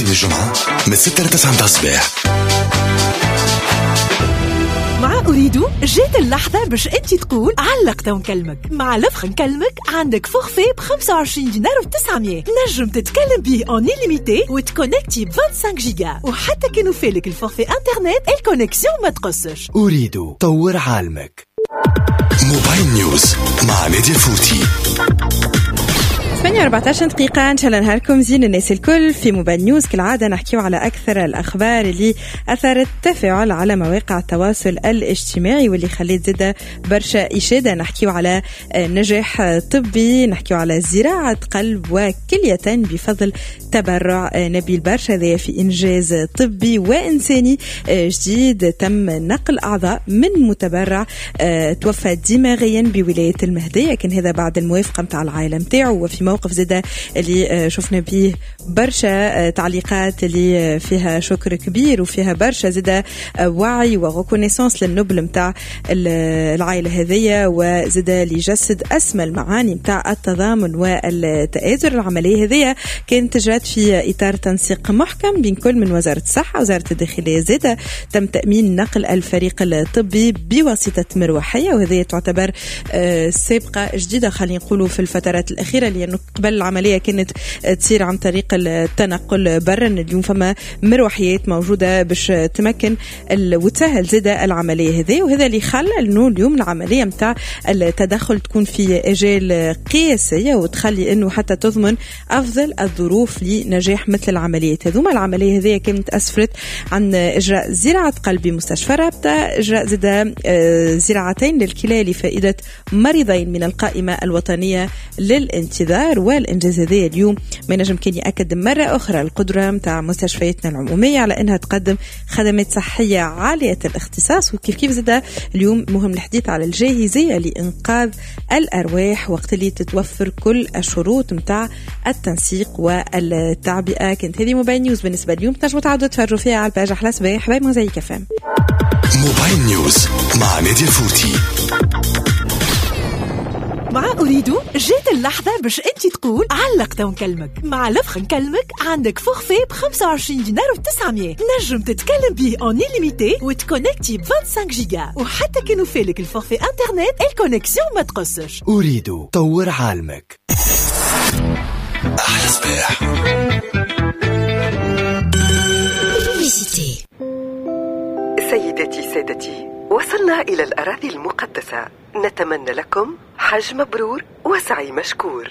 الاثنين للجمعة من 6 ل 9 متاع الصباح. مع أوريدو جات اللحظة باش أنت تقول علق ونكلمك. مع l'offre نكلمك عندك forfait ب 25 دينار و900 تنجم تتكلم به en illimité وتكونكتي ب 25 جيجا، وحتى كانوا فالك ال forfait internet ال connexion ما تقصش. أوريدو طور عالمك. موبايل نيوز مع نادية الفوتي. 8:14 دقيقة. إن شاء الله نهاركم زين الناس الكل. في موبايل نيوز كالعادة نحكيو على أكثر الأخبار اللي أثرت تفاعل على مواقع التواصل الاجتماعي واللي خليت زادة برشا إشادة. نحكيو على نجاح طبي، نحكيو على زراعة قلب وكلية بفضل تبرع نبيل برشا، هذا في إنجاز طبي وإنساني جديد. تم نقل أعضاء من متبرع توفى دماغيا بولاية المهدية، كان هذا بعد الموافقة متاع العائلة متاعه. وفي موقف زادة اللي شفنا به برشا تعليقات اللي فيها شكر كبير وفيها برشا زادة وعي و reconnaissance للنبل متاع العائلة هذية، وزادة اللي جسد أسمى المعاني متاع التضامن والتآزر. العملية هذية كانت جرت في إطار تنسيق محكم بين كل من وزارة الصحة وزارة الداخلية. زادة تم تأمين نقل الفريق الطبي بواسطة مروحية، وهذه تعتبر سابقة جديدة خلينا نقولوا في الفترات الأخيرة، لأنه قبل العملية كانت تصير عن طريق التنقل برا. اليوم فما مروحيات موجودة باش تمكن وتسهل زادة العملية هذه، وهذا اللي خلى انه اليوم العملية متاع التدخل تكون في اجال قياسية وتخلي انه حتى تضمن افضل الظروف لنجاح مثل العمليات هذوما. العملية هذه كانت اسفرت عن اجراء زراعة قلب بمستشفى رابطة، اجراء زادة زراعتين للكلى لفائدة مريضين من القائمة الوطنية للانتظار. والإنجاز هذا اليوم ما نجم كان يأكد مرة أخرى القدرة متاع مستشفياتنا العمومية على أنها تقدم خدمات صحية عالية الاختصاص. وكيف كيف زاد اليوم مهم الحديث على الجاهزية لإنقاذ الأرواح وقت اللي تتوفر كل الشروط متاع التنسيق والتعبئة. كانت هذه موبايل نيوز بالنسبة اليوم، تنجموا تعودوا تفرجوا فيها على ال page أحلى صباح by موزايك FM. موبايل نيوز مع نادية الفوتي. مع أوريدو جات اللحظة باش أنت تقول علق ونكلمك. مع l'offre نكلمك عندك forfait ب 25 دينار و900 تنجم تتكلم به en illimité وتكونكتي ب 25 جيجا، وحتى كانوا فالك ال forfait internet ال connexion ما تقصش. أوريدو طور عالمك. أحلى صباح. سيدتي سادتي، وصلنا إلى الأراضي المقدسة. نتمنى لكم حج مبرور وسعي مشكور.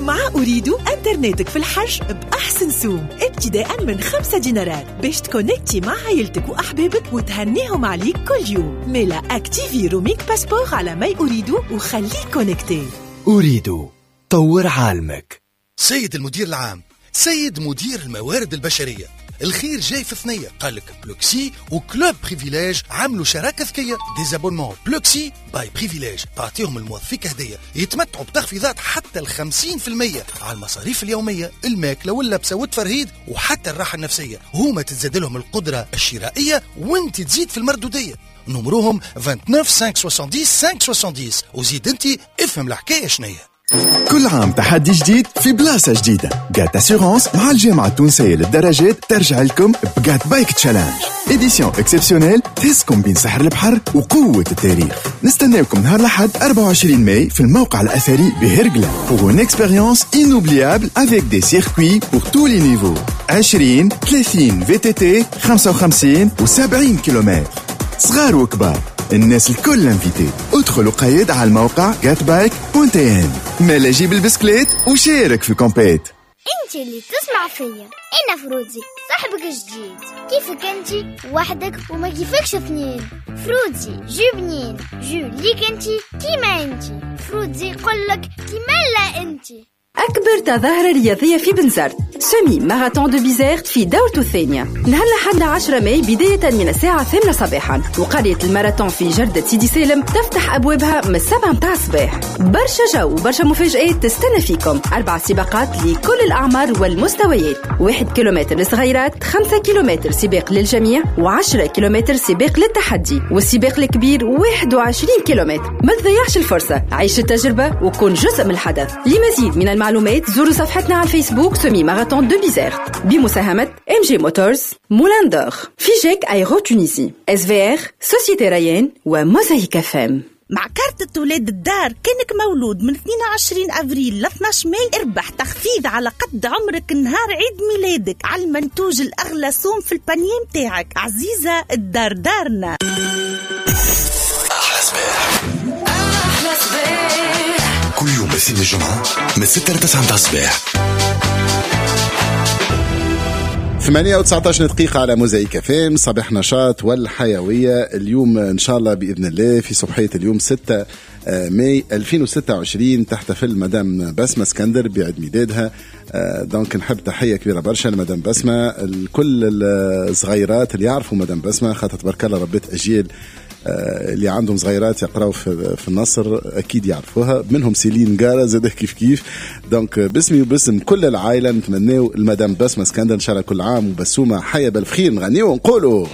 مع أوريدو انترنتك في الحج بأحسن سوم ابتداء من 5 دينارات باش تكونكتي مع عائلتك وأحبابك وتهنيهم عليك كل يوم. ميلا activer roaming passeport على my أوريدو وخليك connecté. أوريدو طور عالمك. سيد المدير العام، سيد مدير الموارد البشرية، الخير جاي في ثنية. قالك Pluxee و Club Privilège عملوا شراكة ذكية، des abonnements Pluxee by Privilège تعطيهم الموظفين هدية، يتمتعوا بتخفيضات حتى 50% على المصاريف اليومية، الماكلة واللبسة والتفرهيد وحتى الراحة النفسية. هما تتزاد لهم القدرة الشرائية وانت تزيد في المردودية. نمرهم 29 570 570 وزيد انت افهم الحكاية شنية. كل عام تحدي جديد في بلاصة جديدة. GAT Assurances مع الجامعة التونسية للدراجات ترجع لكم ب GAT Bike Challenge édition exceptionnelle تهزكم بين سحر البحر وقوة التاريخ. نستناكم نهار الأحد 24 ماي في الموقع الأثري بهرقلة pour une expérience inoubliable avec des circuits pour tous les niveaux. 20 30 VTT 55 و 70 كيلومتر، صغار وكبار، الناس الكل invités. ادخلوا قيد على الموقع gatbike.tn. مالا جيب البسكليت وشارك في ال compét. انت اللي تسمع فيا، انا فروزي صاحبك الجديد. كيفك انت وحدك وما كيفكش اثنين. فروزي jus بنين، jus ليك انت كيما انت. فروزي قلك كيما لا انت. أكبر تظاهرة رياضية في بنزرت، semi-marathon de Bizerte في دورته الثانية، نهار الأحد 10 ماي بداية من الساعة 8 صباحا. وقرية الماراثون في جردة سيدي سالم تفتح أبوابها من 7 متاع الصباح. برشا جو وبرشا مفاجآت تستنى فيكم. 4 سباقات لكل الأعمار والمستويات، 1 كيلومتر للصغيرات، 5 كيلومتر سباق للجميع، و10 كيلومتر سباق للتحدي، والسباق الكبير 21 كيلومتر. ما تضيعش الفرصة، عيش التجربة وكن جزء من الحدث. لمزيد من المعلومات للمعلومات زوروا صفحتنا على الفيسبوك semi-marathon de Bizerte بمساهمة MG Motors، Moulin d'Or، FIGEC Aéro Tunisie، SVR، Société ريان وموزايك FM. مع كارتة ولاد الدار كانك مولود من 22 أفريل ل 12 ماي اربح تخفيض على قد عمرك نهار عيد ميلادك على المنتوج الأغلى سوم في ال panier متاعك. عزيزة الدار دارنا. أحلى صباح، أحلى صباح، كل يوم الاثنين الجمعة من 6 ل 9 الصباح. 8:19 دقيقة على موزايك FM، صباح نشاط والحيوية. اليوم إن شاء الله بإذن الله في صبحية اليوم 6 ماي 2026 تحتفل مدام بسمة اسكندر بعيد ميلادها. donc نحب تحية كبيرة برشا لمدام بسمة، الكل الصغيرات اللي يعرفوا مدام بسمة، خاطر تبارك الله ربيت أجيال اللي عندهم صغيرات يقراوا في النصر اكيد يعرفوها، منهم سيلين جارة زاد كيف كيف. donc باسمي وباسم كل العائلة نتمناو المدام بسمة اسكندر ان شاء الله كل عام وبسومه حيه بالخير. نغنيو ونقولوا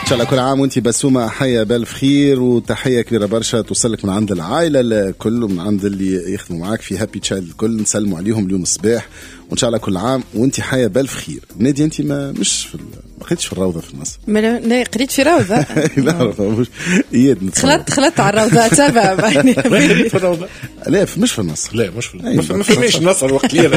ان شاء الله كل عام وانت بسومه حيه بالف خير، وتحية كبيرة برشا توصلك من عند العائلة الكل ومن عند اللي يخدموا معاك في Happy Child الكل، نسلموا عليهم اليوم الصباح، وان شاء الله كل عام وانت حيه بالف خير. نادي انت ما مش في ما قريتش في الروضة في النصر؟ لا قريت في روضة. لا مش اياد خلطت على الروضة تبع. قريت في الروضة؟ لا مش في النصر. لا مش في ما فماش النصر وقت اللي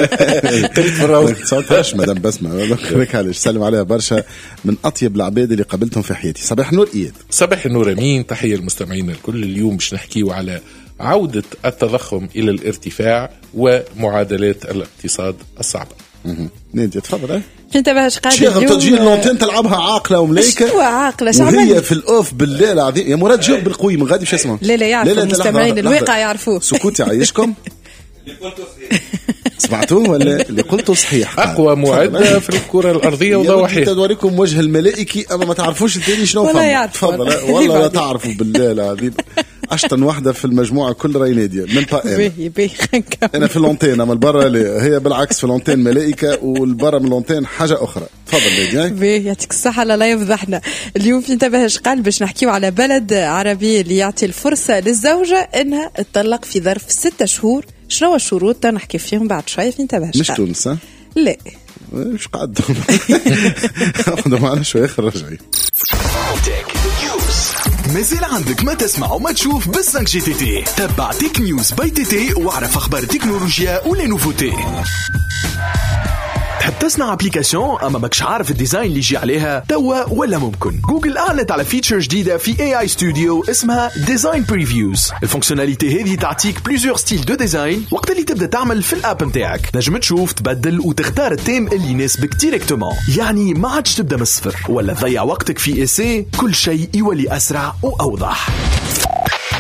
قريت في الروضة. 19 مدام بسمه لك علاش سلم عليها برشا، من اطيب العباد اللي قابلتهم في حياتي. صباح النور اياد. صباح النور امين، تحية للمستمعين الكل. اليوم باش نحكيو على عودة التضخم إلى الارتفاع ومعادلات الاقتصاد الصعبة. نادي تفضل. انت باش قاعد اليوم تجي l'antenne تلعبها عاقلة وملايكه. شو عاقلة؟ وهي في ال off بالله العظيم يا مراد جاوب بالقوي من غادي باش يسمع. لا لا يعرفوا المستمعين الواقع يعرفوه. سكوتي عايشكم. سمعتوه ولا اللي قلته صحيح؟ اقوى معده في الكره الارضية وضواحيها. توريكم وجه الملائكي اما ما تعرفوش الثاني شنو فما. تفضل. والله لا تعرفوا بالله العظيم. اشطن واحدة في المجموعة كل راي ناديه من با انا في l'antenne، اما البرة هي بالعكس في l'antenne ملائكة والبرة من l'antenne حاجة اخرى. تفضل ناديه. باهي يعطيك الصحة. لا يفضحنا اليوم في انتبه قال باش نحكيو على بلد عربي اللي يعطي الفرصة للزوجة انها تطلق في ظرف 6 شهور. شنو الشروط نحكي فيهم بعد شوية في انتبه. مش تونس؟ لا مش قاعد. خذوا معنا شوية اخر رجعي. مازال عندك ما تسمع وما تشوف بال 5G TT. تبع Tech News by TT واعرف اخبار التكنولوجيا و les nouveautés. تحب تصنع application اما ماكش عارف ال design اللي يجي عليها توا ولا ممكن؟ جوجل اعلنت على feature جديدة في AI Studio اسمها Design Previews. ال fonctionnalité هذه تعطيك plusieurs styles de design وقت اللي تبدا تعمل في ال app نتاعك، نجم تشوف تبدل وتختار التيم اللي يناسبك directement، يعني ما عادش تبدا من الصفر ولا تضيع وقتك في essai، كل شيء يولي اسرع واوضح.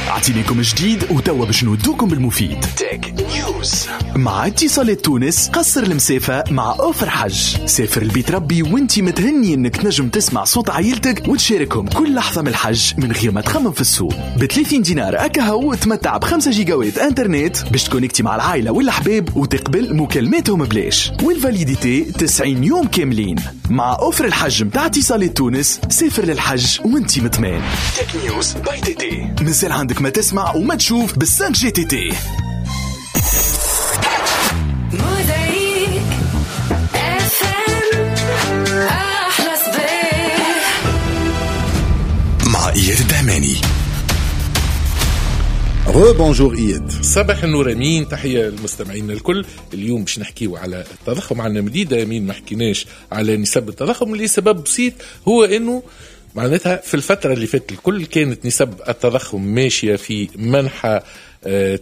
أعطينيكم جديد وتوا باش نودوكم بالمفيد. Tech News مع اتصالات تونس. قصر المسافة مع offre حج، سافر البيت ربي وانتي متهني انك تنجم تسمع صوت عائلتك وتشاركهم كل لحظة من الحج من غير ما تخمم في السوق. ب 30 دينار أكاهو تمتع ب 5 جيجاوات انترنت باش تكونكتي مع العائلة والأحباب وتقبل مكالماتهم بلاش، وال validité 90 يوم كاملين. مع offre الحج متاع اتصالات تونس سافر للحج وانتي مطمئن. Tech News by TT. مازال عندك ما تسمع وما تشوف بال 5G TT. موزايك FM احلى صباح مع اياد الدهماني. rebonjour اياد. صباح النور امين، تحية للمستمعين الكل. اليوم باش نحكيو على التضخم. عندنا مديدة امين ما حكيناش على نسب التضخم لسبب بسيط، هو انه معناتها في الفترة اللي فاتت الكل كانت نسب التضخم ماشية في منحى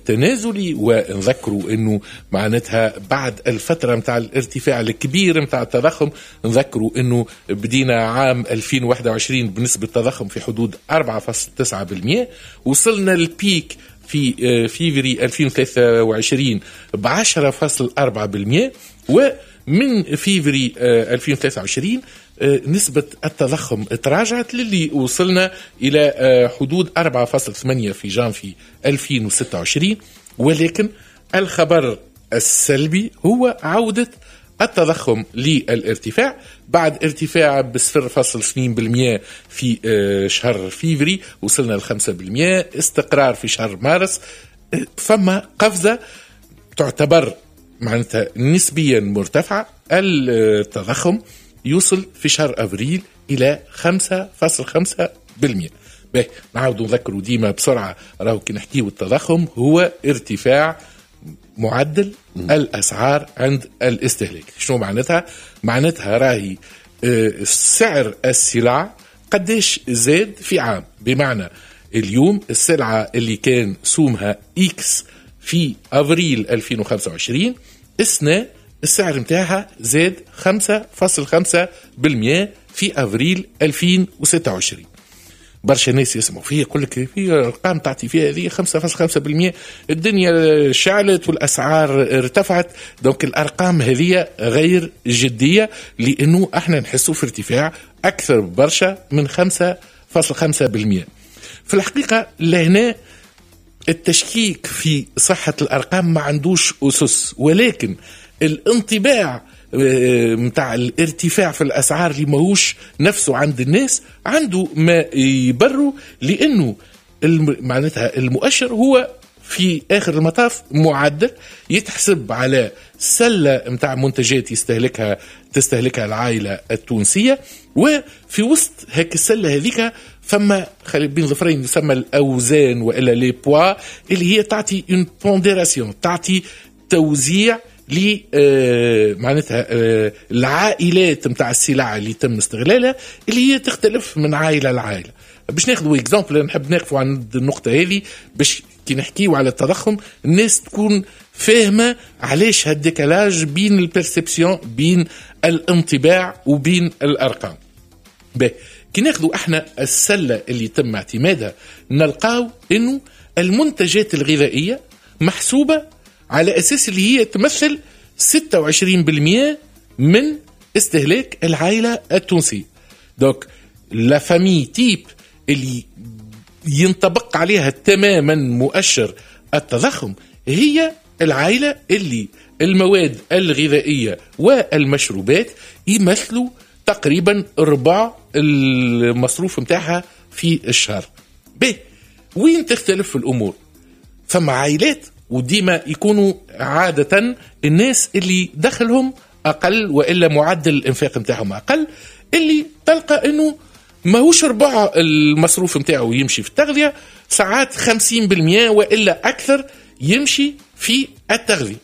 تنازلي، ونذكروا انه معناتها بعد الفترة متاع الارتفاع الكبير متاع التضخم، نذكروا انه بدينا عام 2021 بنسبة تضخم في حدود 4.9%، وصلنا لل pic في فيفري 2023 ب 10.4%، ومن فيفري 2023 نسبة التضخم تراجعت للي وصلنا إلى حدود 4.8 في جانفي 2026. ولكن الخبر السلبي هو عودة التضخم للارتفاع بعد ارتفاع ب 0.2% في شهر فيفري، وصلنا ل 5%، استقرار في شهر مارس. فما قفزة تعتبر معناتها نسبيا مرتفعة، التضخم يوصل في شهر أفريل إلى 5.5%. باهي، نعاودوا نذكروا ديما بسرعة، راهو كي نحكيو التضخم هو ارتفاع معدل الأسعار عند الاستهلاك. شنو معناتها؟ معناتها راهي سعر السلع قداش زاد في عام. بمعنى اليوم السلعة اللي كان سومها X في أفريل 2025، السنة السعر متاعها زاد 5.5% في أفريل 2026. برشا ناس يسمعوا فيه يقول لك في ارقام تعطي فيها هذه 5.5%، الدنيا شعلت والاسعار ارتفعت. donc الارقام هذه غير جدية، لانه احنا نحسوا في ارتفاع اكثر برشا من 5.5%. في الحقيقة لهنا التشكيك في صحة الارقام ما عندوش اسس، ولكن الانطباع متاع الارتفاع في الأسعار اللي ماهوش نفسه عند الناس عنده ما يبروا، لأنه معناتها المؤشر هو في آخر المطاف معدل يتحسب على سلة متاع منتجات تستهلكها العائلة التونسية، وفي وسط هيك السلة هذيك فما بين ظفرين يسمى الأوزان وإلا les poids، اللي هي تعطي une pondération، تعطي توزيع ل معناتها العائلات نتاع السلع اللي تم استغلالها، اللي هي تختلف من عائلة لعائلة. باش ناخذوا exemple، نحب نقفوا عند النقطة هذه باش كي نحكيو على التضخم الناس تكون فاهمه علاش هال décalage بين ال perception، بين الانطباع وبين الارقام. باهي، كي ناخذوا احنا السلة اللي تم اعتمادها نلقاو انه المنتجات الغذائية محسوبة على أساس اللي هي تمثل 26% من استهلاك العائلة التونسية. donc la famille type اللي ينطبق عليها تماما مؤشر التضخم هي العائلة اللي المواد الغذائية والمشروبات يمثلوا تقريبا ربع المصروف متاعها في الشهر. به وين تختلف الأمور؟ فما عائلات وديما يكونوا عادة الناس اللي دخلهم أقل وإلا معدل الإنفاق متاعهم أقل، اللي تلقى أنه ماهوش ربع المصروف متاعه يمشي في التغذية، ساعات 50% وإلا أكثر يمشي في التغذية.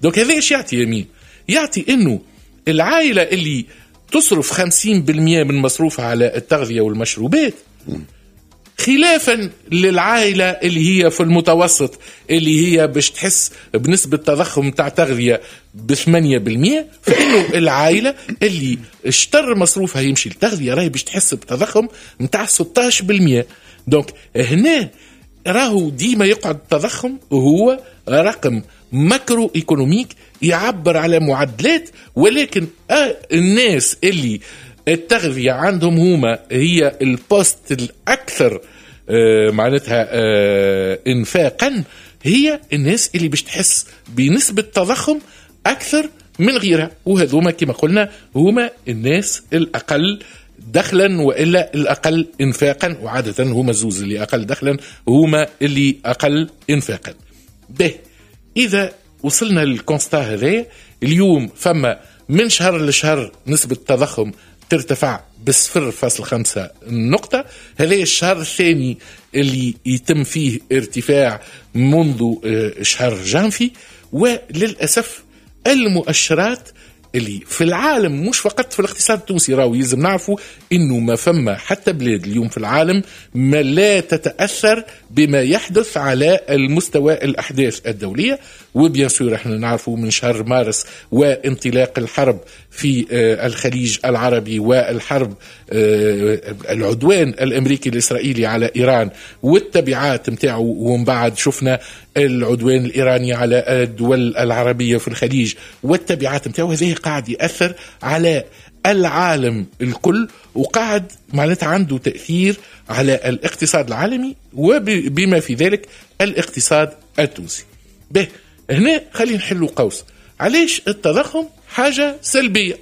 donc هذا إيش يعطي يمين؟ يعطي أنه العائلة اللي تصرف 50% من مصروفها على التغذية والمشروبات، خلافا للعائلة اللي هي في المتوسط اللي هي باش تحس بنسبة تضخم تاع تغذية ب8%، فإنه العائلة اللي اشتر مصروفها يمشي للتغذية راهي باش تحس بتضخم متاع 16%. donc هنا راهو ديما يقعد التضخم هو رقم macro-économique يعبر على معدلات، ولكن الناس اللي التغذية عندهم هما هي ال poste الأكثر معناتها إنفاقا، هي الناس اللي باش تحس بنسبة تضخم أكثر من غيرها، وهذوما كما قلنا هما الناس الأقل دخلا وإلا الأقل إنفاقا، وعادة هما الزوز اللي أقل دخلا هما اللي أقل إنفاقا. به إذا وصلنا لل constat هذا اليوم، فما من شهر لشهر نسبة التضخم ترتفع ب0.5 نقطة. هذا الشهر الثاني اللي يتم فيه ارتفاع منذ شهر جانفي. وللأسف المؤشرات اللي في العالم مش فقط في الاقتصاد التونسي، راهو يلزم نعرفوا انه ما فما حتى بلاد اليوم في العالم ما لا تتاثر بما يحدث على المستوى الاحداث الدولية. و bien sûr احنا نعرفوا من شهر مارس وانطلاق الحرب في الخليج العربي والحرب العدوان الامريكي الاسرائيلي على ايران والتبعات نتاعو، ومن بعد شفنا العدوان الايراني على الدول العربية في الخليج والتبعات نتاعو، هذا قاعد ياثر على العالم الكل وقاعد معناتها عنده تاثير على الاقتصاد العالمي وبما في ذلك الاقتصاد التونسي. به هنا خلينا نحلوا قوس، علاش التضخم حاجة سلبية؟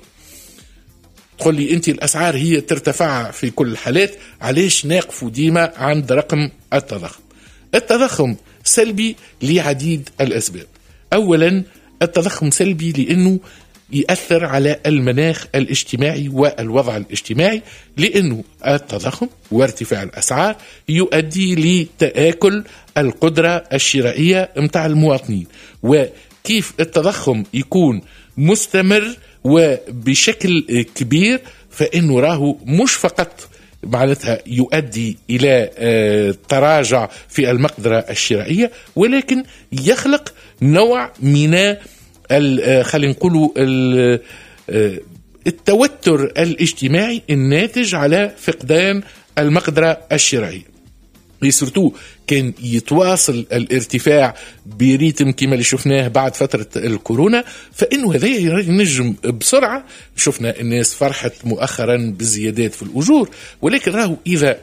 تقول لي انت الاسعار هي ترتفع في كل الحالات، علاش ناقفوا ديما عند رقم التضخم؟ التضخم سلبي لعديد الاسباب. اولا التضخم سلبي لانه يأثر على المناخ الاجتماعي والوضع الاجتماعي، لأنه التضخم وارتفاع الأسعار يؤدي لتآكل القدرة الشرائية متاع المواطنين. وكيف التضخم يكون مستمر وبشكل كبير فإنه راهو مش فقط معناتها يؤدي إلى تراجع في المقدرة الشرائية، ولكن يخلق نوع من خلينا نقولوا التوتر الاجتماعي الناتج على فقدان المقدرة الشرائية. surtout كان يتواصل الارتفاع ب rythme كما اللي شفناه بعد فترة الكورونا، فإنه هذا ينجم بسرعة. شفنا الناس فرحت مؤخرا بالزيادات في الأجور، ولكن راهو إذا